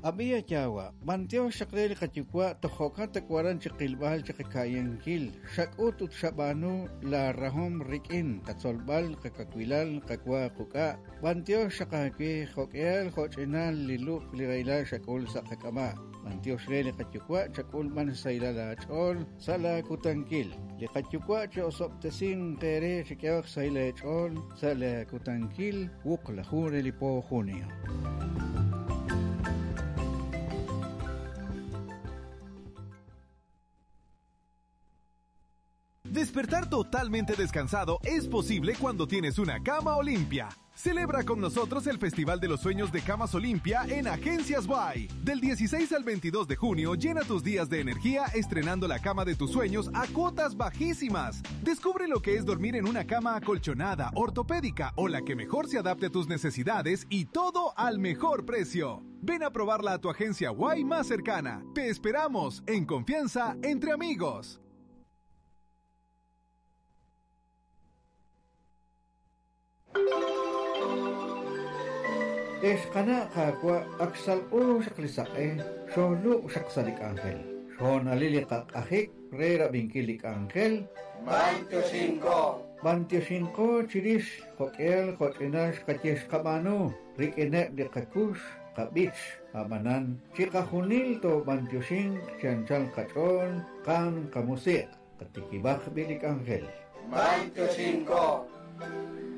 Ab'iya yawa, b'antiox xaq re li qayuwa' toj jo'kan tawaran chi qilb'al chi qaka'yankil, xak'ut ut xab'aanu la rahom rik'in qatzolb'al qakawilal qawa quk'a', b'antiox xaq aawe jo'k'ihal jo'ch'inal li lub' li rahilal xak'ul sa' qak'ab'a'. B'antiox re li qayuwa' chak'ul b'an xsahilal aach'ool sa' laakutankil. Li qayuwa' chi osob'tesinq eere chi k'ehok xsahil eech'ool sa' laakutankil wuqlaju re li po junio. Despertar totalmente descansado es posible cuando tienes una cama Olimpia. Celebra con nosotros el Festival de los Sueños de Camas Olimpia en Agencias Y. Del 16 al 22 de junio, llena tus días de energía estrenando la cama de tus sueños a cuotas bajísimas. Descubre lo que es dormir en una cama acolchonada, ortopédica o la que mejor se adapte a tus necesidades y todo al mejor precio. Ven a probarla a tu agencia Y más cercana. Te esperamos en confianza entre amigos. Ex qana' qaawa' ak xsalq'u xaq li saq'e, xoolub' xaq sa' li k'anjel. Xhoonalil li qaq'ajik re rab'inkil li k'anjel. B'antioxinko. B'antioxinko chirix jo'k'ihal jo'ch'inal xqaye xqab'aanu rik'ineb' li qakux qab'ich ab'anan chiqajunil toob'antioxinq chi anchal qach'ool qan qamusiq' qatikib'aq b'i li k'anjel. B'antioxinko.